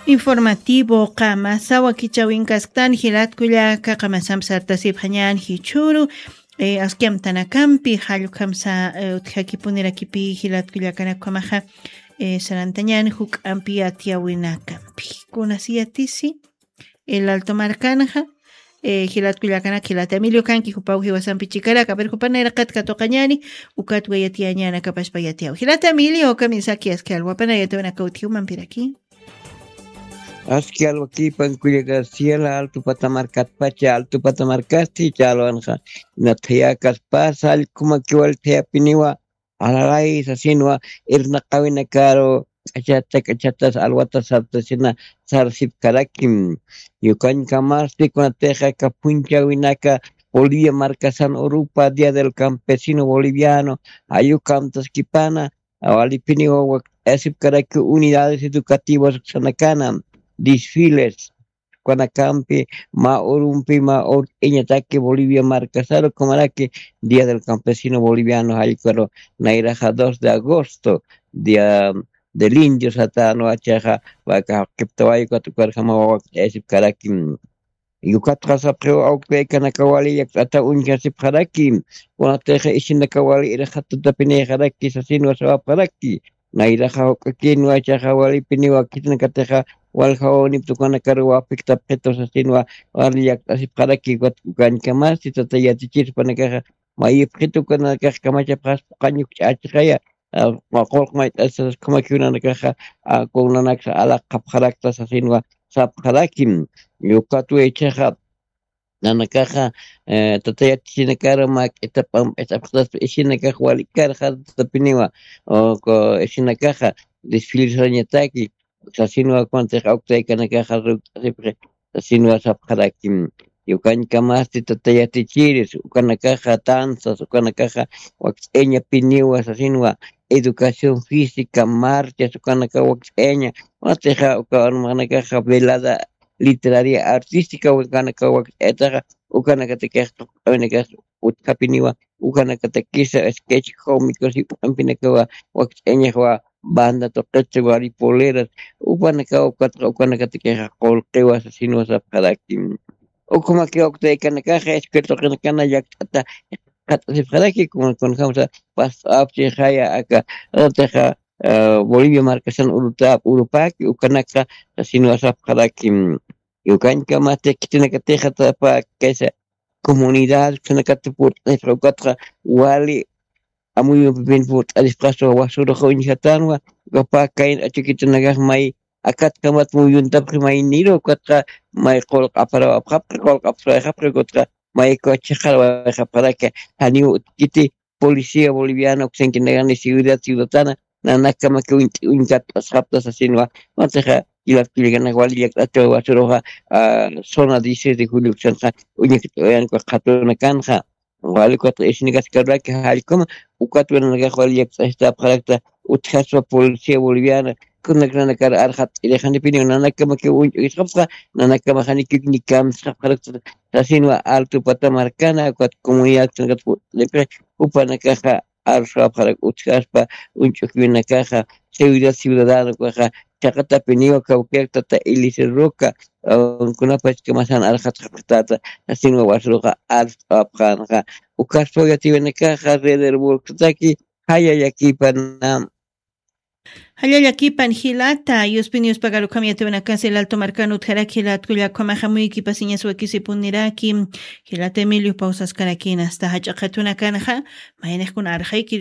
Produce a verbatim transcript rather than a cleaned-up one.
Informativo qamasa wakichawinkasktan jilatkullaka qamasamp sartasipxañan jichhuru. Askiamtanakampi jallukhamsa utjakipunirakipï jilatkullakanakhamaxa sarantañan juk'ampi atiyawinakampi. Kunasiyatisi el alto markanxa jilatkullakanak jilata emilio kanki jupaw jiwasampi chikarak aver jupanayra qat katuqañani. Ukatwa yatiyañanakapashpa yatiyaw jilata emilio kamisaki aski alwapanayatawinaka utjiwmampiraki. Aski alwakipan kulla garciela altu patamarkatpacha altu patamarkasti chalwanxa. Nathayakas pasa allkuma kiwalthayapiniwa alalaysa sinwa irnaqawinakaru k'achata k'achatas alwata sartasina sarsipkarakim. Yukañkamasti kunatixa kapunchawinaka bolivia markasan urupa dia del campesino boliviano ayukamtaskipana walipiniwa wakt'ayasipkaraki unidades educativas uksanakana desfiles ukanakampi mä urumpi mä urt'iñataki bolivia markasaru kumaraki dia del campesino boliviano jallkaru nayraxa dos de agosto dia del indio satanwa chaxa waka jaqiptawayukat ukarjama wakt'ayasipkaraki. Yukatxa sapxiw awkaykanaka wali llakt'ata uñjasipxaraki kunatixa isinaka wali irxatatapinïxaraki sasinwa sawapxaraki. Nayraxa juk'akinwa chaxa walipiniwa khitinakatixa waljawawniptukanakaru wapiktapxitu sasinwa wali llakt'asipxaraki. Ukañkamasti tata yatichir jupanakaxa mayipxitu ukanakax kamachapxaspa qañukch'achixaya. Qulq mayt'asas kamakiw nanakaxa kunanaksa alaqapxarakta sasinwa sapxarakim. Ukatwa ichaxa nanakaxa tata yatisinakaru mä k'ita p'amp'ita apxataspa isinakax wali karxatatapiniwa isinakaxa desfilisarañataki sasinwa kuntix awktaykanakaxa rukt'asipxi sasinwa sapxarakim. Yukañkamasti tata yatichiris ukanakaxa tansas ukanakaxa wakt'eñapiniwa sasinwa educación física marchas ukanaka wakt'eña. Kunatixa uka armaxanakaxa velada literaria artística ukanaka wakt'etaxa ukanakatakix tuqt'awinakax utjapiniwa ukanakatakisa sketch cómicos jip'ampinakawa wakt'eñaxwa banda tuqitsa wari poleras upanakawa ukatxa ukanakatakixa qulqiwa sasinwa sapxaraki. Ukhamakiwa uktaykanakaxa escuela tuqinakana llakt'ata qat'asipxaraki kunjamsa pasapchixaya aka ratixa bolivia markasan urutap urupaki ukanaka sasinwa sapxaraki. Yukañkamasti khitinakatixa tapa kaysa comunidad khitinakata purt'asipxa ukatxa wali amuyumpipin purt'asipxaswa wasuraxa uñjatanwa ukapä kayn achukitunakax may akatkamat muyuntapxi mayniru ukatxa may qulq'aparawapxapxi qulq'apxarawayxapxi ukatxa maykuwa chiqarawayxapxaraki. Janiw utkiti policía boliviana uksankinakani seguridad ciudadana nanakkamaki uñkat'asxapta sasinwa. Matixa jilatkullakanak wali llakt'achaw wasuruxa zona dieciséis de julio uksanxa uñakt'awayanka qhatunakanxa wali ukatxa isinakaskaruraki jallkuma ukatwa nanakax wali llakt'asitapxarakta utjaspa policía boliviana kunak nanakar arxat'irixanipiniw nanakamakiw uñch'ukisxapxta nanakamaxanikiw nikamsxapxarakta sasinwa alto pata markana ukat comunidad kunakat purt'anipxi jupanakaxa arsxapxarak utjaspa uñch'ukiwinakaxa seguridad ciudadana ukaxa chaqatapiniwa kawkirak tata eliezer roca kunapachkamasan arxatxapxtata sasinwa wasuruxa arst'awapxänxa. Ukaspaw yatiwinakaxa rederburksataki jaya llakipana. Jalla llakipan jilata yuspin yuspagarukham yatiwinakas el alto markan utjarak jilatkullakhamaxa muykipasiñas wakisipuniraki. Jilata emilio pawsaskarakina asta jach'a qhatunakanxa mayniqkuna arxayki.